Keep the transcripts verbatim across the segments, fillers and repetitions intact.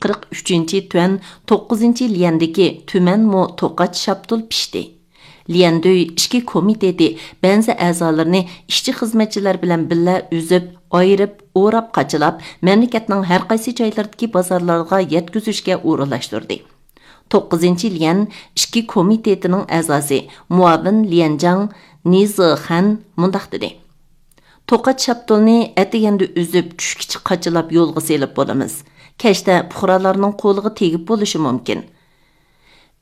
قىرىق ئۈچىنچى تۈەن توققۇزىنچى ليەندىكى تۈمەنمۇ توقاچ شاپتۇل پىشتى. ليەندۈي ئىچكى كومىتېتى بەنزى ئەزالىرىنى ئىشچى خىزمەتچىلەر بىلەن بىللە ئۈزۈپ، ئايرىپ، ئوراپ، قاچىلاپ، مەملىكەتنىڭ ھەر قايسى جايلىرىدىكى بازارلارغا يەتكۈزۈشكە ئورۇنلاشتۇردى. توققۇزىنچى ليەن ئىچكى كومىتېتىنىڭ ئەزاسى، مۇئاۋىن ليەنجاڭ نىزىخەن مۇنداق دېدى: توقاچ شاپتۇلنى ئەتىگەندە ئۈزۈپ، چۈشكىچە قاچىلاپ يولغا سېلىپ بولىمىز. كەچتە پۇقرالارنىڭ قولىغا تېگىپ بولۇشى مۇمكىن.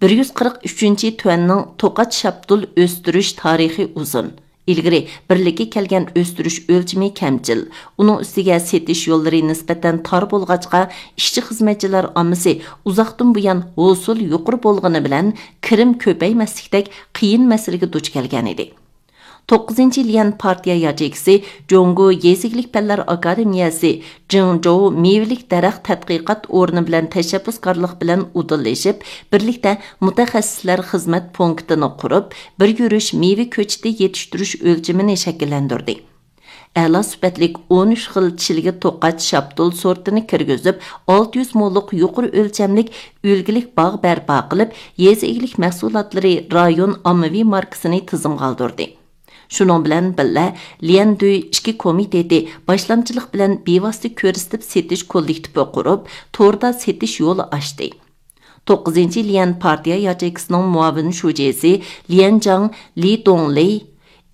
بىر يۈز قىرىق ئۈچىنچى تۈەننىڭ توقاچ شاپتۇل ئۆستۈرۈش تارىخى ئۇزۇن. ئىلگىرى بىرلىككە كەلگەن ئۆستۈرۈش ئۆلچىمى كەمچىل، ئۇنىڭ ئۈستىگە سېتىش يوللىرى نىسبەتەن تار بولغاچقا، ئىشچى-خىزمەتچىلەر ئاممىسى ئۇزاقتىن بۇيان ھوسۇل يۇقىرى بولغىنى بىلەن، كىرىم كۆپەيمەسلىكتەك قىيىن مەسىلىگە دۇچ كەلگەنىدى. توققۇزىنچى ليەن پارتىيە ياچېيكىسى جۇڭگو يېزا ئىگىلىك پەنلەر ئاكادېمىيەسى جىڭجوۋ مېۋىلىك دەرەخ تەتقىقات ئورنى بىلەن تەشەببۇسكارلىق بىلەن ئۇدۇللىشىپ، بىرلىكتە مۇتەخەسسىسلەر خىزمەت پونكىتىنى قۇرۇپ، بىر يۈرۈش مېۋە كۆچىتى يېتىشتۈرۈش ئۆلچىمىنى شەكىللەندۈردى. ئەلا سۈپەتلىك ئون ئۈچ خىل چىلگە توقاچ شاپتۇل سورتىنى كىرگۈزۈپ، ئالتە يۈز موللۇق يۇقىرى ئۆلچەملىك ئۈلگىلىك باغ بەرپا قىلىپ، يېزا ئىگىلىك مەھسۇلاتلىرى رايون ئاممىۋى ماركىسىنى تىزىمغا ئالدۇردى. شۇنىڭ بىلەن بىللە، ليەندۈي ئىچكى كومىتېتى باشلامچىلىق بىلەن بىۋاسىتە كۆرسىتىپ سېتىش كوللېكتىپى قۇرۇپ، توردا سېتىش يولى ئاچتى. توققۇزىنچى ليەن پارتىيە ياچېيكىسىنىڭ مۇئاۋىن شۇجىسى ليەنجاڭ لى دۇڭلى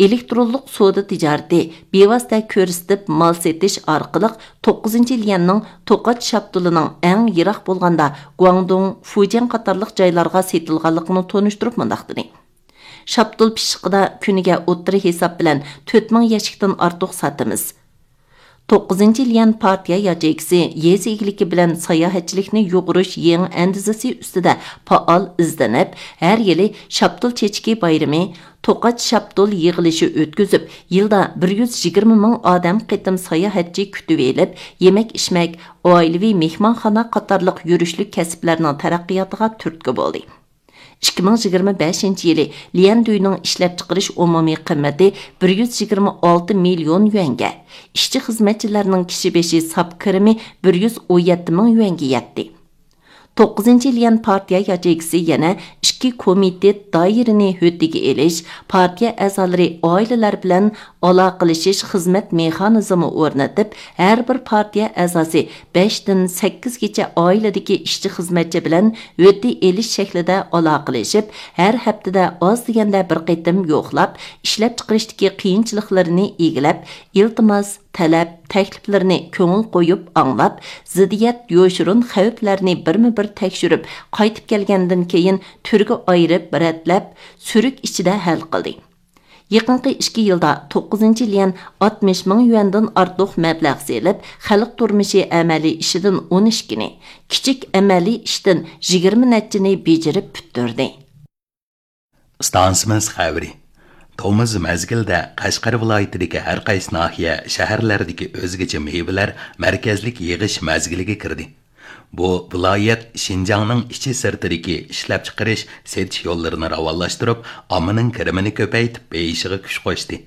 ئېلېكترونلۇق سودا تىجارىتى بىۋاسىتە كۆرسىتىپ مال سېتىش ئارقىلىق توققۇزىنچى ليەننىڭ توقاچ شاپتۇلىنىڭ ئەڭ يىراق بولغاندا گۇاڭدۇڭ، فۇجيەن قاتارلىق جايلارغا سېتىلغانلىقىنى تونۇشتۇرۇپ مۇنداق دېدى: شاپتۇل پىششىقىدا كۈنىگە ئوتتۇرا ھېساب بىلەن تۆت مىڭ يەشىكتىن ئارتۇق ساتىمىز. توققۇزىنچى ليەن پارتىيە ياچېيكىسى يېزا ئىگىلىكى بىلەن ساياھەتچىلىكنى يۇغۇرۇش يېڭى ئەندىزىسى ئۈستىدە پائال ئىزدىنىپ، ھەر يىلى شاپتۇل چېچىكى بايرىمى، توقاچ شاپتۇل يىغىلىشى ئۆتكۈزۈپ، يىلدا بىر يۈز يىگىرمە مىڭ ئادەم قېتىم ساياھەتچى كۈتۈۋېلىپ، يېمەك-ئىچمەك، ئائىلىۋى مېھمانخانا قاتارلىق يۈرۈشلۈك كەسىپلەرنىڭ تەرەققىياتىغا تۈرتكە بولدى. ئىككى مىڭ يىگىرمە بەشىنچى يىلى ليەندۈينىڭ ئىشلەپچىقىرىش ئومۇمىي قىممىتى بىر يۈز يىگىرمە ئالتە مىليون يۈەنگە، ئىشچى-خىزمەتچىلەرنىڭ كىشى بېشى ساپ كىرىمى بىر يۈز ئون يەتتە مىڭ يۈەنگە يەتتى. توققۇزىنچى ليەن پارتىيە ياچېيكىسى يەنە ئىككى كومىتېت دائىرىنى ھۆددىگە ئېلىش، پارتىيە ئەزالىرى ئائىلىلەر بىلەن ئالاقىلىشىش خىزمەت مېخانىزمى ئورنىتىپ، ھەر بىر پارتىيە ئەزاسى بەشتىن سەككىزگىچە ئائىلىدىكى ئىشچى-خىزمەتچى بىلەن ھۆددە ئېلىش شەكلىدە ئالاقىلىشىپ، ھەر ھەپتىدە ئاز دېگەندە بىر قېتىم يوقلاپ، ئىشلەپچىقىرىشتىكى قىيىنچىلىقلىرىنى ئىگىلەپ، ئىلتىماس، تەلەپ، تەكلىپلىرىنى كۆڭۈل قويۇپ ئاڭلاپ، زىددىيەت، يوشۇرۇن خەۋپلەرنى بىرمۇ بىر تەكشۈرۈپ، قايتىپ كەلگەندىن كېيىن تۈرگە ئايرىپ، رەتلەپ، سۈرۈك ئىچىدە ھەل قىلدى. يېقىنقى ئىككى يىلدا توققۇزىنچى ليەن ئاتمىش مىڭ يۈەندىن ئارتۇق مەبلەغ سېلىپ، خەلق تۇرمۇشى ئەمەلىي ئىشىدىن ئون ئىككىنى، كىچىك ئەمەلىي ئىشتىن يىگىرمە نەچچىنى بېجىرىپ پۈتتۈردى. ئىستانسىمىز خەۋىرى. تومۇز مەزگىلدە قەشقەر ۋىلايىتىدىكى ھەر قايسى ناھىيە، شەھەرلەردىكى ئۆزگىچە مېۋىلەر مەركەزلىك يىغىش مەزگىلىگە كىردى. بۇ ۋىلايەت شىنجاڭنىڭ ئىچى سىرتىدىكى ئىشلەپچىقىرىش، سېتىش يوللىرىنى راۋانلاشتۇرۇپ، ئاممىنىڭ كىرىمىنى كۆپەيتىپ بېيىشىغا كۈچ قوشتى.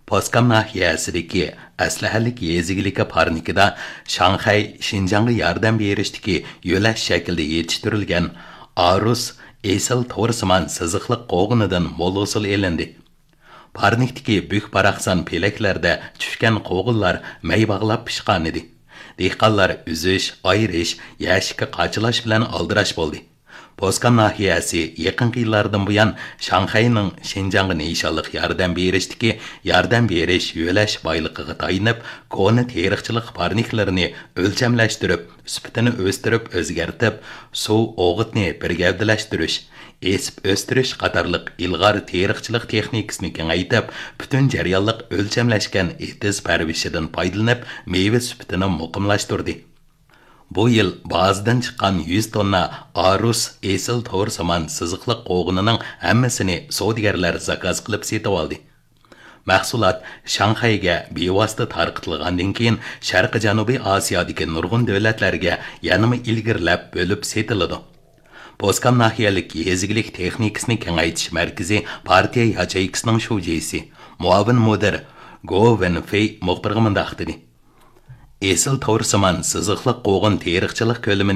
پوسكام ناھىيەسىدىكى ئەسلىھەلىك يېزا ئىگىلىكى پارنىكىدا شاڭخەي شىنجاڭغا ياردەم بېرىشتىكى يۆلەش شەكلىدە يېتىشتۈرۈلگەن ئارۇس ئېسىل تورسىمان سىزىقلىق قوغۇنىدىن مول ھوسۇل ئېلىندى. پارنىكتىكى بۈك-باراقسان پېلەكلەردە چۈشكەن قوغۇنلار مەي باغلاپ پىشقانىدى. دېھقانلار ئۈزۈش، ئايرىش، يەشىككە قاچىلاش بىلەن ئالدىراش بولدى. پوسكام ناھىيەسى يېقىنقى يىللاردىن بۇيان شاڭخەينىڭ شىنجاڭغا نىشانلىق ياردەم بېرىشتىكى ياردەم بېرىش، يۆلەش بايلىقىغا تايىنىپ، كونا تېرىقچىلىق پارنىكلىرىنى ئۆلچەملەشتۈرۈپ، سۈپىتىنى ئۆستۈرۈپ ئۆزگەرتىپ، سۇ، ئوغۇتنى بىر گەۋدىلەشتۈرۈش، ئېسىپ ئۆستۈرۈش قاتارلىق ئىلغار تېرىقچىلىق تېخنىكىسىنى كېڭەيتىپ، پۈتۈن جەريانلىق ئۆلچەملەشكەن ئېتىز پەرۋىشىدىن پايدىلىنىپ، مېۋە سۈپىتىنى مۇقىملاشتۇردى. بۇ يىل بازىدىن چىققان يۈز توننا ئارۇس ئېسىل تورسىمان سىزىقلىق قوغۇنىنىڭ ھەممىسىنى سودىگەرلەر زاكاز قىلىپ سېتىۋالدى. مەھسۇلات شاڭخەيگە بىۋاسىتە تارقىتىلغاندىن كېيىن، شەرقىي جەنۇبىي ئاسىيادىكى نۇرغۇن دۆلەتلەرگە يەنىمۇ ئىلگىرىلەپ بۆلۈپ سېتىلىدۇ. پوسكام ناھىيەلىك يېزا ئىگىلىك تېخنىكىسىنى كېڭەيتىش مەركىزى پارتىيە ياچېيكىسىنىڭ شۇجىسى، مۇئاۋىن مۇدىر گو ۋېنفېي مۇخبىرغا مۇنداق دېدى: ئېسىل تورسىمان سىزىقلىق قوغۇن تېرىقچىلىق كۆلىمى